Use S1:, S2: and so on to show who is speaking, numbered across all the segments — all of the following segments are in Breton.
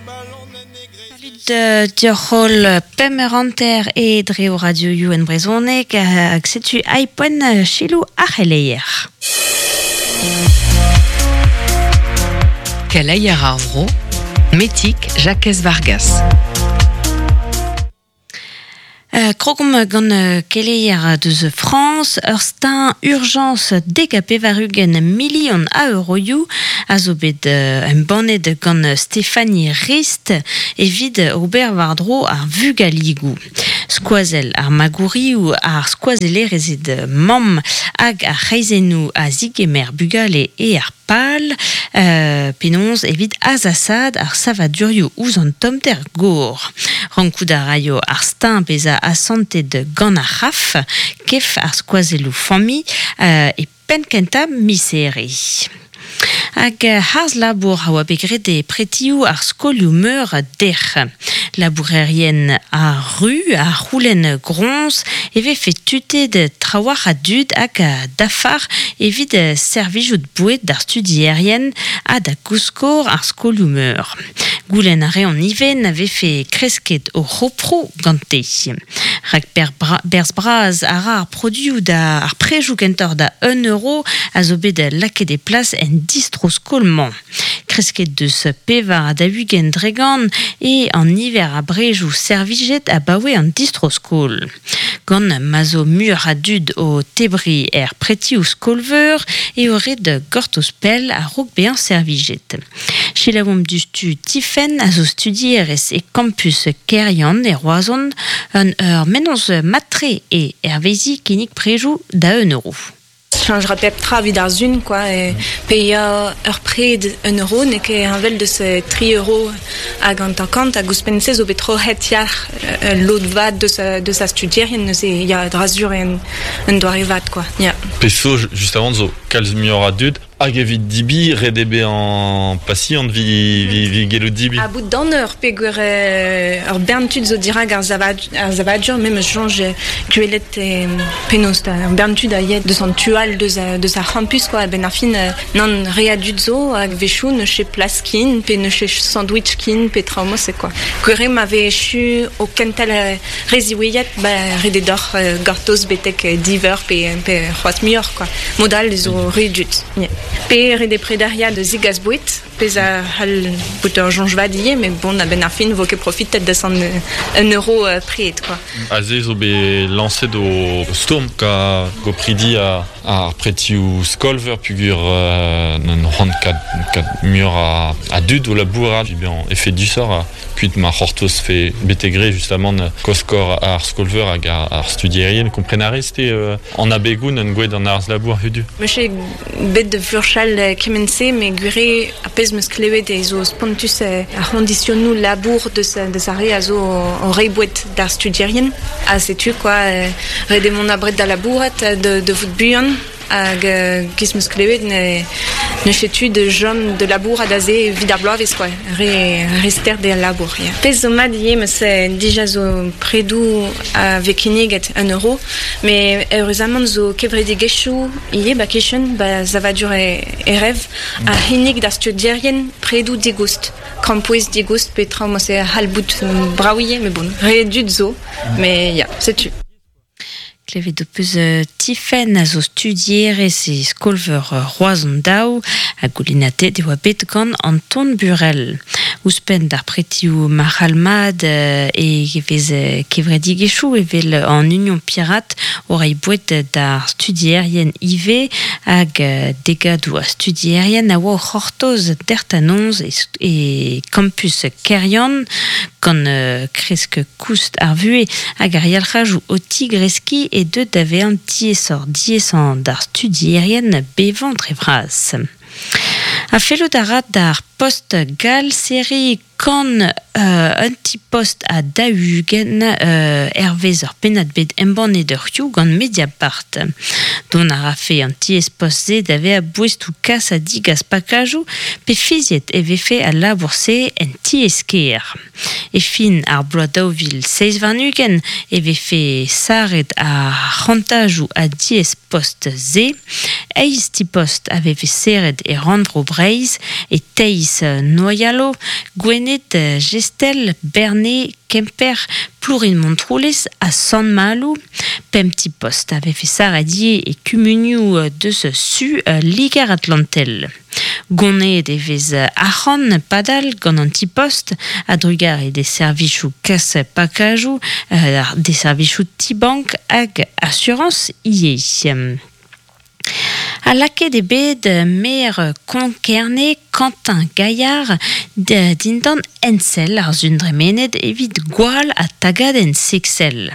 S1: Salud dioc'h holl pemp eur hanter e dre ho radioioù en brezhoneg hag setu aipoen selaou ar c'heleier.
S2: Keleier ar vro, Metig Jakez Vargas.
S1: Krogomp gant keleier deus Frañs, ur steuñv urjañs 90 milion a euroioù a zo bet embannet gant Stéphanie Rist evit ober war-dro ar vugaligoù. Skoazell ar magourioù, ar skoazellerezed mamm hag ar c'hreizennoù a zigemer bugale eo ar Pal, penaos evit azasaat ar savadurioù ouzh an tommder gor. Rankout a raio ar steuñv bezañ asantet gant ar c'haf, kef ar skoazelloù familh, e penn-kentañ miz Here. Hag harz-labour a oa bet graet e pretioù ar skolioù-meur dec'h. Labourerien ar ru a c'houlenn groñs e vefe tutet trawalc'h a dud hag a dafar evit servijout boued d'ar studierien ha da gouskor ar skolioù-meur. Goulenn a reont ivez na vefe kresket o c'hoproù gante. Rak berzh bras a ra ar produioù da ar prejoù kentoc'h da un euro a zo bet lakaet e plas en distro-skol-mañ. Kresket deus 44% eo an niver a brejoù servijet abaoe an distro-skol. Gant ma zo muioc'h a dud o tebriñ er pretioù skol-veur eo ret gortoz pell a-raok bezañ servijet. Selaouomp diouzhtu Tifenn a zo studierez e kampus Keryann e Roazhon. Un ur mennozh mat-tre eo hervezi kinnig prejoù da un euro.
S3: Cheñch pep tra evit ar sun quoi paeañ ur pred un euro n'eo ket heñvel deus tri euro hag hanter-kant hag ouzhpenn-se zo bet troc'het yalc'h ul lod vat deus deus ar studierien neuze ya dra-sur eo un doare vat quoi ya.
S4: Pezh zo justement zo kalz muioc'h a dud Hag evit dibi, ret eo bezañ pasiant evit gellout dibi.
S3: A bout d'an eur peogwir ur bern tud zo dirak ar savadur, me 'meus soñj gwelet penaos ur bern tud a ya deus an tu all deus deus ar c'hampus quoi a-benn ar fin nann re a dud zo hag 'wechoù n'eus ket plas ken pe n'eus ket sandwich ken pe traoù mod-se quoi. Gwir eo ma vez echu o kentel re ziwezhat ba ret eo deoc'h gortoz betek div eur pe pe c'hoazh muioc'h quoi. Mod all zo re dud. Pe ret eo prederiañ da zegas boued, pezh a c'hall bout ur soñj vat ivez, met bon, a-benn ar fin 'vo ket profitet deus an un euro pred quoi.
S4: Aze zo bet lañset o stourm ka gopridi ar pretioù skol-veur peogwir n'on c'hoant kat muioc'h a dud o labourat bezañ efedusoc'h Kuit ma c'hortozfe betek re justamant koskor ar skol-veur hag ar studierien, kompren a rez-te an abegoù n'en gouet an arz-labour hudu?
S3: Meus ket bet da furchal kement-se, met gwir eo ar pezh 'meus klevet eo zo spontus ar c'hoñdisionoù labour deus deus ar re a zo o reiñ boued d'ar studierien. Ha setu quoi, ret eo mont abred da labourat, da vout buan. Hag giz 'meus klevet ne n'eus ket tu da chom da labourat aze evit ar bloavezh quoi, re re stert eo al labour ya. Pezh zo mat ivez 'meus dija zo predoù a vez kinniget un euro met eüruzamant zo kevredigezhioù ivez 'ba kichen 'ba savadur e rev a c'hinnig d'ar studierien predoù digoust, krampouezh digoust pe traoù ma se a c'hall bout brav ivez met bon re dud zo met ya setu.
S1: Klevet ho peus Tifenn a zo studierez e skol-veur Roazhon Daou ha goulennatet e oa bet gant Anton Burel. Ouzhpenn d'ar pretioù marc'hall-mat e vez kevredigezhioù evel an Union Pirate o reiñ boued d'ar studierien ivez hag degadoù a studierien a oa o c'hortoz dertanoz e kampus Keryann gant kresk Koust ar vuhez hag ar yalc'hajoù o tigreskiñ eo deuet da vezañ diaesoc'h-diaesañ d'ar studierien bevañ dre vras. Ha fellout a ra d'ar Post gall serriñ kant un ti-post a 40 hervez ur pennad bet embannet ur hiziv gant Mediapart. Dont a rafe an tiez-post-se da vezañ boestoù kas ha digas pakajoù pe fiziet e vefe al labour-se en tiez-kêr. E fin ar bloaz 2027 e vefe sarret ar c'hantajoù a diez-post-se. Eizh ti-post a vefe serret e rannvro Breizh, e Teiz Noyalo, Gwened, Gestel, Berne, Kemper, Plourin-Montroulez ha Sant-Maloù. Pemp ti-post a vefe sarret ivez e kumunioù deus su Liger-Atlantel. Goneet e vez arc'hant padal gant an ti-post a-drugarez d'e servijoù kas pakajoù, d'e servijoù ti-bank hag asurañs ivez. Ha lakaet eo bet maer Konk-Kerne, Quentin Gaillard, dindan ensell ar sun dremenet evit gwall ha tagadenn seksel.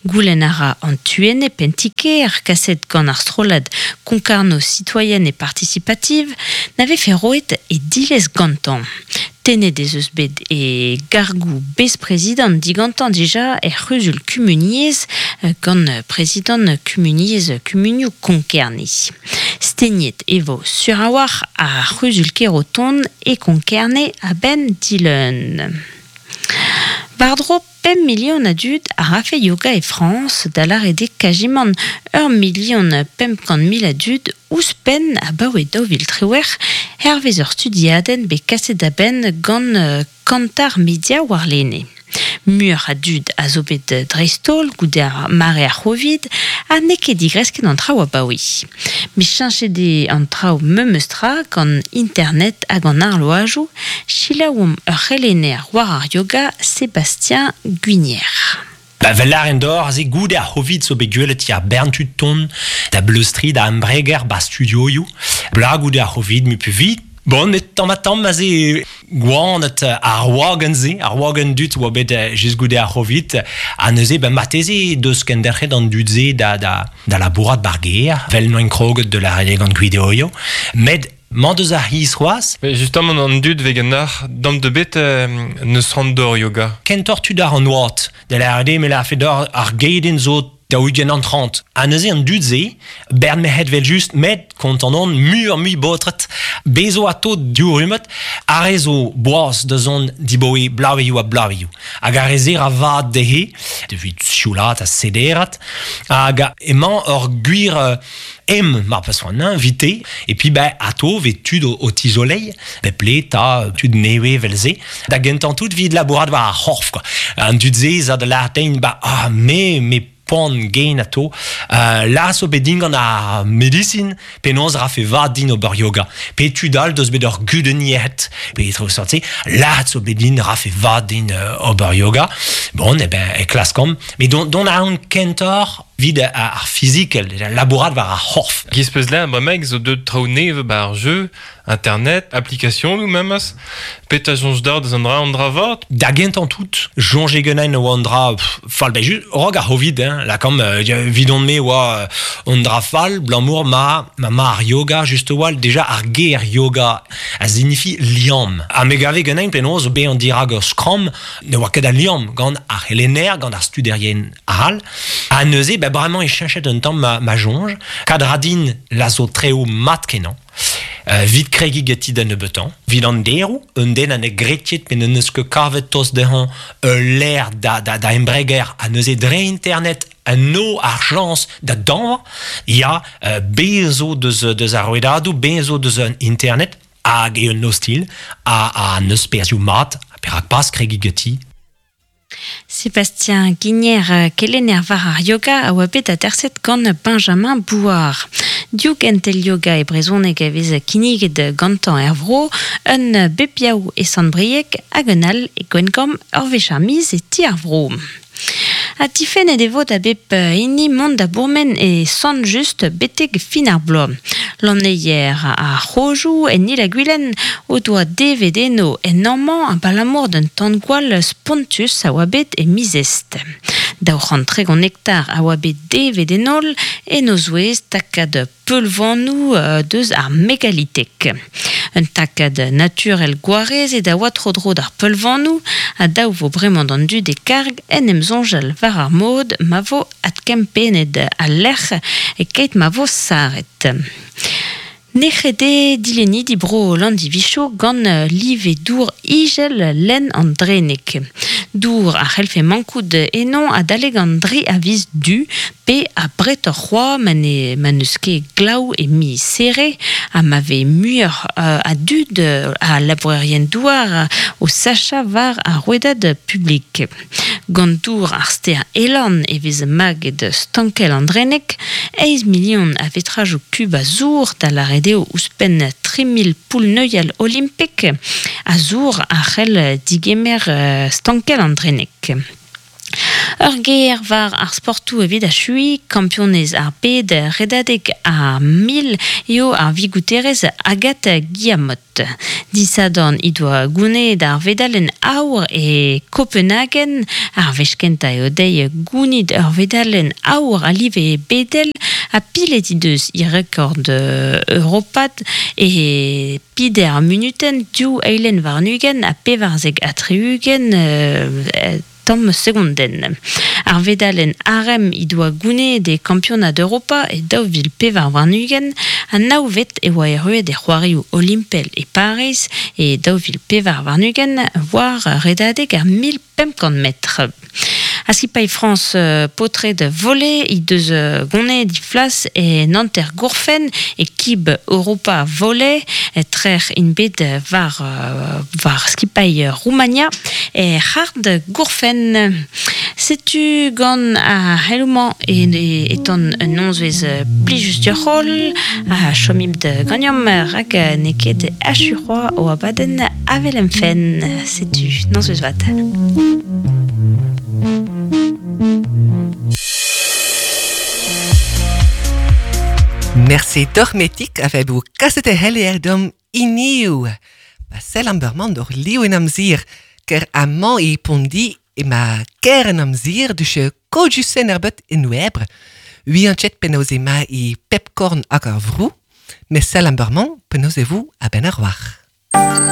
S1: Goulenn a ra an tu-enep en ti-kêr kaset gant ar strollad Concarneau Citoyenne et Participative na vefe roet e dilez gantañ. Tennet ez eus bet e gargoù besprezidant digantañ dija er c'huzul kumuniezh gant prezidant kumuniezh kumunioù Konk-Kerne. Stegnet e vo sur a-walc'h ar c'huzul-kêr o tont e Konk-Kerne a-benn dileun. War-dro pemp milion a dud a rafe yoga e Frañs, da lâret eo kazimant ur milion 500 mil a dud ouzhpenn abaoe 2018, hervez ur studiadenn bet kaset da benn gant Kantar Media warlene. Muioc'h a dud a zo bet dreist-holl goude ar mare ar C'hovid ha n'eo ket digresket an traoù abaoe. Met cheñchet eo an traoù memes tra gant internet hag an arloajoù, selaouomp ur c'helenner war ar yoga Sébastien Guinier.
S5: Ba vel lâren deoc'h aze goude ar C'hovid zo bet gwelet ya bern tud tont da bleustriñ da embreger ba studioioù. Bla goude ar C'hovid mu pu vit. Bon, met tamm ha tamm aze gwanet ar wagenn-se, ar wagenn dud oa bet just goude ar C'hovid, ha neuze ben marteze deus kenderc'het an dud-se da, da, da labourat bar gêr, vel noint kroget de la gant gwideoioù. Met mañ deus ar c'hiz c'hoazh.
S6: Mais justement an dud vez ganeoc'h dam de bet neus c'hoant d'ober yoga.
S5: Kentoc'h tud ar an oad, da lâret eo me lârfe deoc'h ar gedenn zo 40 an 30. Ha neuze an dud-se, bern merc'hed vel-just, met kontant on muioc'h-mui baotred. Bez zo atao div rummad, ar re zo boaz da zont dibaoe bloavezhioù ha bloavezhioù. Hag ar re-se ra vat dezhe, evit sioulaat ha sederat. Hag emañ ur gwir em mar peus c'hoant invité. Et puis ben atao vez tud o, o tizoleiñ, bep le 'ta tud nevez vel-se. Da gentañ tout 'vit labourat war ar c'horf quoi. An dud-se 'za da lâret din, ba ah me me poan gen atao. La zo bet din gant ar medisin penaos rafe vat din ober yoga. Pe tud all deus bet ur gudenn yec'hed, pe traoù seurt-se, la zo bet din rafe vat din ober yoga. Bon, eh ben, e klaskomp. Mais dont, dont a an kentoc'h 'vit ar fizikel, labourat war ar c'horf.
S6: Giz peus ler bremaik zo deuet traoù nevez 'ba ar jeu, internet, application memes. Petra soñj deoc'h deus an dra an dra vat?
S5: Da gentañ tout, soñje ganin oa an dra fall, ben just raok ar C'hovid, hein, lakaomp, 'vidon-me oa an dra fall, 'blamour ma ma ma ar yoga just a-walc'h, déjà ar ger yoga a signifi liamm. Ha me gave ganin penaos bezañ dirak ur skramm ne oa ket a liamm gant ar c'helenner, gant ar studerien all. Ha neuze, ben bremañ e cheñchet un tamm ma, ma soñj. Kad ra din la zo treoù mat-kenañ. 'Vit kregiñ ganti da nebeutañ. 'Vit an deroù, un den ha ne gred ket pe n'en deus ket kavet tost dezhañ ul lec'h da, da, da embreger ha neuze dre internet en no ar chañs da dañva, ya, bez zo deus, deus ar rouedadoù, bez zo deus an internet hag eo un ostilh ha, ha n'eus perzhioù mat, perak pas kregiñ ganti.
S1: Sébastien Guinier, kelenner war ar yoga, a oa bet aterset gant Benjamin Bouard. Div gentel yoga e brezhoneg a vez kinniget gantañ er vro, un bep yaou e Sant-Brieg hag un all e Gwengamp ur wech ar miz e ti ar vro. Ha difennet e vo da bep hini mont da bourmen e Sant-Just betek fin ar bloaz. Lanneier ar C'hrojoù en Il-ha-Gwilen o doa devet eno en amañ abalamour d'un tan-gwall spontus a oa bet e miz Est. 230 hektar a oa bet devet en holl, en o zouez takad peulvanoù deus ar megalitek. Un takad naturel gwarezet a oa tro-dro d'ar peulvanoù, ha dav vo bremañ d'an dud e karg en em soñjal war ar mod ma vo adkempennet al lec'h e-keit ma vo sarret. Nec'het eo dilennidi bro Landivicho gant live dour ijel lenn an Dreneg. Dour a c'hellfe mankout eno adalek an dri a viz Du pe abretoc'h c'hoazh ma ne ma n'eus ket glav e miz Here ha ma vez muioc'h a dud a labourerien-douar o sachañ war ar rouedad publik. Gant dour ar stêr Elorn e vez maget stankell an Dreneg, eizh milion a vetrajoù kub a zour, da lâret eo ouzhpenn 3000 poull-neuial olimpek a zour a c'hell digemer stankell an Dreneg. Ur ger war ar sportoù evit achuiñ, kampionez ar bed redadeg ar 1000 eo ar vigouterez Agathe Guillamot. Disadorn he doa gounezet ar vedalenn aour e Kopenhagen. Ar wech kentañ eo dezhi gounit ur vedalenn aour a live bedel ha pilet he deus he rekord europat e peder munutenn, div eilenn warn-ugent ha 74 tamm segondenn. Ar vedalenn arem he doa gounezet e Kampionad Europa e 2024 ha navvet e oa erruet e C'hoarioù Olimpel e Pariz e 2024 war redadeg ar 1500 metr. Ha skipailh Frañs paotred volley he deus goneet he flas en hanter-gourfenn e Kib Europa Volley. Trec'h int bet war war skipailh Roumania er c'hard gourfenn. Setu gant ar c'heloù-mañ e tan un nozvezh plijus deoc'h-holl ha chomit ganeomp rak n'eo ket achu c'hoazh o abadenn Avel em fenn. Setu, nozvezh vat.
S2: Merci doc'h metik a vebou kaset e c'heller dom iniou. Pa sell an beurman doc'h liv en amzer, ker amañ e Pondi ema ker en amzer dus kojusen er bet en oebre. Ui an chet penaos ema e pep korn hag ar vrou, mes sell an beurman penaos e vou a-benn ar war.